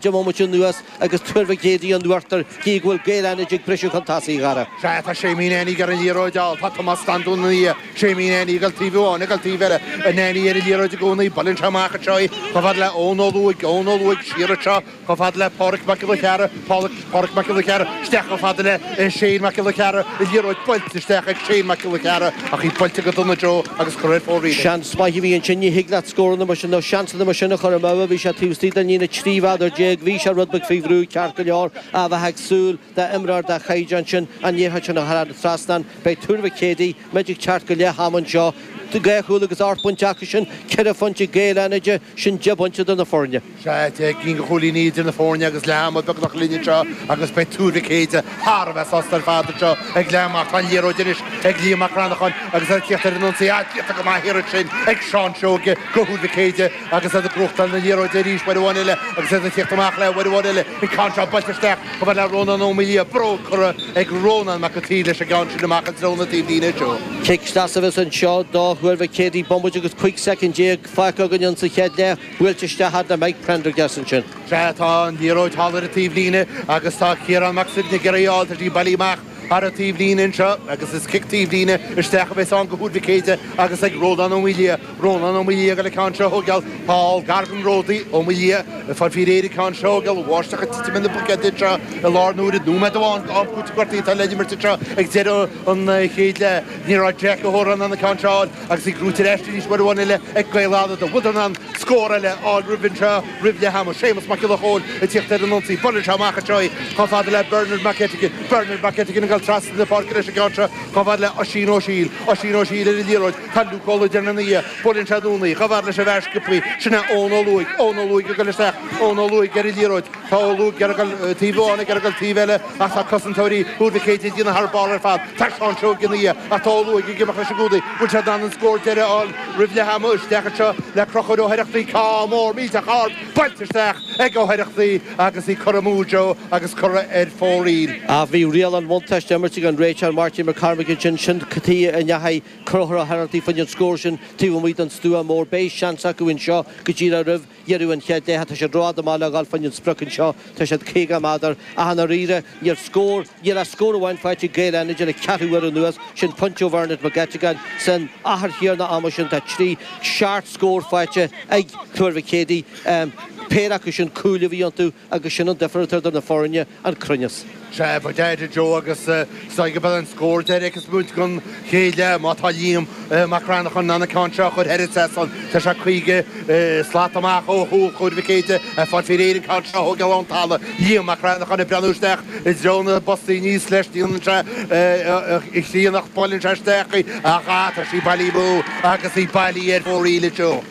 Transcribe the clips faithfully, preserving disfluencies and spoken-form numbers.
Deich mbomaite anuas agus Tuar Mhic Éadaigh in uachtar gí go bhfuil Gaeil Fhánaid ag briseadh chun tosaigh, a Dhara. Sea, tá Séimí Nanny ar an liathróid ann. Tá Tomás Standún ina dhiaidh. Séimí Nanny ag dul taobh amháin, ag dul taobh eile. Nanny ar an liathróid i gcónaí. Buaileann sé amach anseo í chomh fada le Eoin Ó Lúaigh. Eoin Ó Lúaigh siar anseo chomh fada le Pádhraic Mac Giolla Chearra. Pádhraic Mac Giolla Chearra isteach chomh fada le Shane Mac Giolla Chearra. An liathróid buailte isteach ag Shane Mac Giolla Chearra ach í buailte go dona Joe agus curtha ar fóraoil. Seans maith a bhí ansin, ní thig leat scóranna mar sin nó seansanna mar sin a chur amú. Bhí sé taobh istigh den líne trí mhéadar déag, bhí sé rud beag faoi bhrú ceart go leor, a bheith ag súil d'imreoir den chaighdeán sin an liathróid sin a chur thar an trasnán. Beidh Tuar Mhic Éadaigh, muid ag teacht go leath ama anseo, dhá chúl agus ocht bpointe acu sin, ceithre phointe ag Gaeil Fhánaide, sin deich bpointe do na foirne. Sea, deich gcinn de chúilíní idir na foirne agus leath ama beagnach linn anseo agus beidh Tuar Mhic Éadaigh thar a bheith sásta ar fad anseo ag leath ama. Tá an liathróid anois ag Liam Mac Cranacháin agus é ag tíocht ar an ionsaí. Ah, déanta go maith thiar ansin ag Seán Seoige do Thuar Mhic Éadaigh agus iad ag gnóthachtáil na liathróide arís uair amháin eile agus iad ag tíocht amach léi uair amháin eile. An ceann seo buailte isteach chomh fada le Rónán Ó Maoildhia, bróg curtha ag Rónán Mac an tSaoi leis an gceann sin amach i dtreo na taobhlíne anseo. Cic deas a bheas anseo do Thuar Mhic Éadaigh, bomaite agus cúig soicind déag fágtha againn sa chéad leath, buailte isteach fhad le Mike Prendergast ansin. Sea, tá an liathróid thall ar an taobhlíne agus tá Ciarán Mac Suibhne ag iarraidh í a fháil, tá sí bailithe amach thar an taobhlíne anseo agus is cic taobhlíne isteach a bheas ann do Thuar Mhic Éadaigh agus ag Rónán Ó Maoildhia. Rónán Ó Maoildhia ag dul an ceann seo a thógáil. Thall gar don ródaí, Ó Maoildhia ag fáil faoi réir an ceann seo a thógáil. Bháisteach ag titim ina buicéad anseo i láthair na huaire. Nóiméad amháin d'am cúitimh gortaithe atá le himirt anseo ag deireadh an chéad leath. Ní raibh Jack O'Horan in ann an ceann seo a fháil agus í gnóite ar ais arís uair amháin eile ag Gaeil Fhánada. Bhfuileadar in ann scór eile a fháil roimh anseo roimh leath ama. Séamus Mac Giolla Chóill ag tíocht ar an ionsaí. Buaileann sé amach anseo í chomh fada le Bernard McGettigan. Bernard McGettigan ag dul trasna na páirce leis an gceann seo chomh fada le Oisín Ó Siail. Oisín Ó Siail ar an liathróid. Tá Luke Ó Loideáin ina dhiaidh. Buaileann sé anonn í chomh fada leis an bhfear sciobthaí. Sin é Eoin Ó Lúaigh. Eoin Ó Lúaigh ag dul isteach. Eoin Ó Lúaigh ar an liathróid. Tá Ó Lúaigh ag dul taobh amháin ag dul taobh eile ach tá cosantóirí Thuar Mhic Éadaigh ag déanamh thar barr ar fad. Tá Seán Seoige ina dhiaidh ach tá Ó Lúaigh ag imeacht leis i gcónaí. Bhfuil sé in ann an scór deiridh a fháil roimh leath ama? Isteach anseo le Conchúr Ó hOireachtaigh. Ceann mór millteach ard buailte isteach ag Ó hOireachtaigh agus í curtha amú Joe agus curtha ar fóraoil. Ach bhí riail an bhuntáiste imirte ag an réiteoir Máirtín Mac Cormaic ansin, sin cad chuige a ndeachaigh Conchúr Ó hOireachtaigh faoin scór sin taobh amuigh den stua mór. Beidh seans acu anseo go díreach roimh dheireadh an chéad leath. Tá siad rófhada amach le dhul faoin an sprioc anseo. Tá siad caoga méadar. Ach i ndáiríre, níl scór, níl ach scór amháin faighte ag Gaeil Fhánaide le ceathrú uair anuas, sin pointe ó Bhernard McGettigan. San achar chéanna ama sin tá trí, seacht scór faighte ag Tuar Mhic Éadaigh. Péire acu sin cúil a bhí iontu agus sin an difear atá idir na foirne, an cruinneas. Sea, ba deacair Joe agus is dóigh go mbeidh an scór deiridh ag muid don chéad leath má tá Liam Mac Cranacháin in ann an ceann seo a chur thar an trasnán. Tá sé caoga slat amach ó chúl Thuar Mhic Éadaigh ag fáil faoi réir an ceann seo a thógáil ón talamh. Liam Mac Cranacháin ag breathnú isteach i dtreo na bpostaí aníos leis. Déanann sé a chríonnacht, buaileann sé isteach í ach tá sí bailithe amú agus í bailithe ar fóraoil anseo.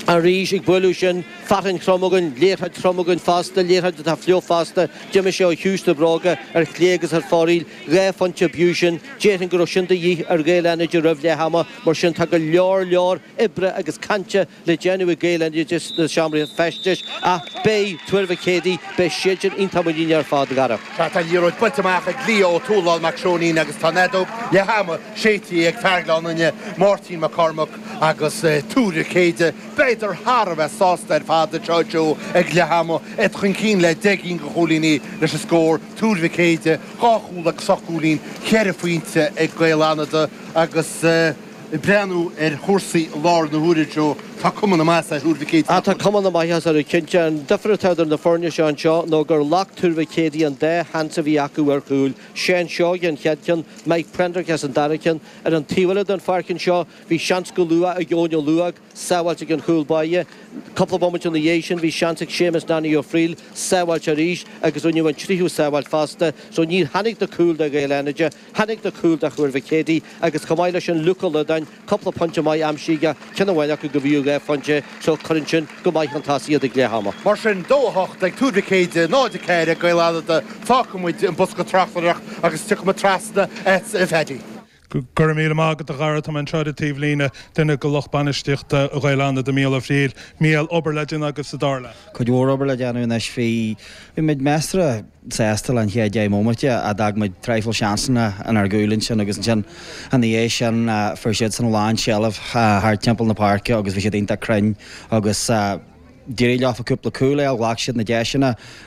Arís ag bualadh sin, fearthainn throm againn, liathróid throm againn fosta, liathróid atá fliuch fosta. D'imigh sé ó chiumhais na bróige ar chlé agus ar fóraoil. Dhá phointe b'fhiú sin. Déarfainn go raibh sin de dhíth ar Ghaeil Fhánaide roimh leath ama. Mar sin tá go leor leor oibre agus cainte le déanamh ag Gaeil Fhánaide sna seomraí feistis. Ach beidh Tuar Mhic Éadaigh, beidh siadsan iontach muiníneach ar fad, a Dhara. Sea, tá an liathróid buailte amach ag Leo Ó Tualáin Mac Seoinín agus tá an fheadóg leath ama séidte ag fear Ghleann Fhinne, Máirtín Mac Cormaic agus Tuar Mhic Éadaigh. Beidar thar a bheith sásta ar fad anseo Joe ag leath ama, iad chun cinn le deich gcinn de chúilíní leis an scór, Tuar Mhic Éadaigh, dhá chúl agus ocht gcúilín, ceithre phointe ag Gaeil Fhánada agus ag breathnú ar chúrsaí i láthair na huaire Joe, tá cuma na maitheasa ar Thuar Mhic Éadaigh. Ah tá cuma na maitheasa orthu cinnte. An difear atá idir na foirne seo anseo nó gur ghlac Tuar Mhic Éadaigh an dá sheans a bhí acu ar chúil. Seán Seoige an chéad cheann, Mike Prendergast an dara ceann. Ar an taobh eile den pháirc anseo bhí seans go luath ag Eoin Ó Luaig, sábháilte ag an chúl báire. Cúpla bomaite ina dhiaidh sin bhí seans ag Séamus Nanny Ó Frighil, sábháilte arís agus rinneadh an tríú sábháilt fosta. So níor tháinig na cúil do Ghaeil Fhánaide, tháinig na cúil do Thuar Mhic Éadaigh agus chomh maith leis sin Luke Ó Loideáin, cúpla pointe maith aimsithe aige, ceann amháin acu go bhfiú dhá phointe, so cuireann sin go maith chun tosaigh iad ag leath ama. Mar sin, dó a hocht ag Tuar Mhic Éadaigh, náid a ceathair ag Gaeil Fhánada. Fágfaidh muid an bosca tráchtaireachta agus tiocfaidh muid trasna a Phaddy. Go raibh míle maith agat a Dhara, tá mé anseo ar an taobhlíne, duine de lucht bainistíochta Ghaeil Fhánada, Mícheál Ó Frighil. Mícheál, obair le déanamh agaibh sa dara leath. Cuid mhór obair le déanamh anois. Bhí bhí muid measartha sásta le an chéad deich mbomaite ach d'fhág muid traidhfil seansanna inár gcúl ansin agus ansin ina dhiaidh sin fuair siadsan a lán seilbh thart timpeall na páirce agus bhí siad iontach cruinn agus D'éirigh leofa cúpla cúl a ghlac siad na deiseanna.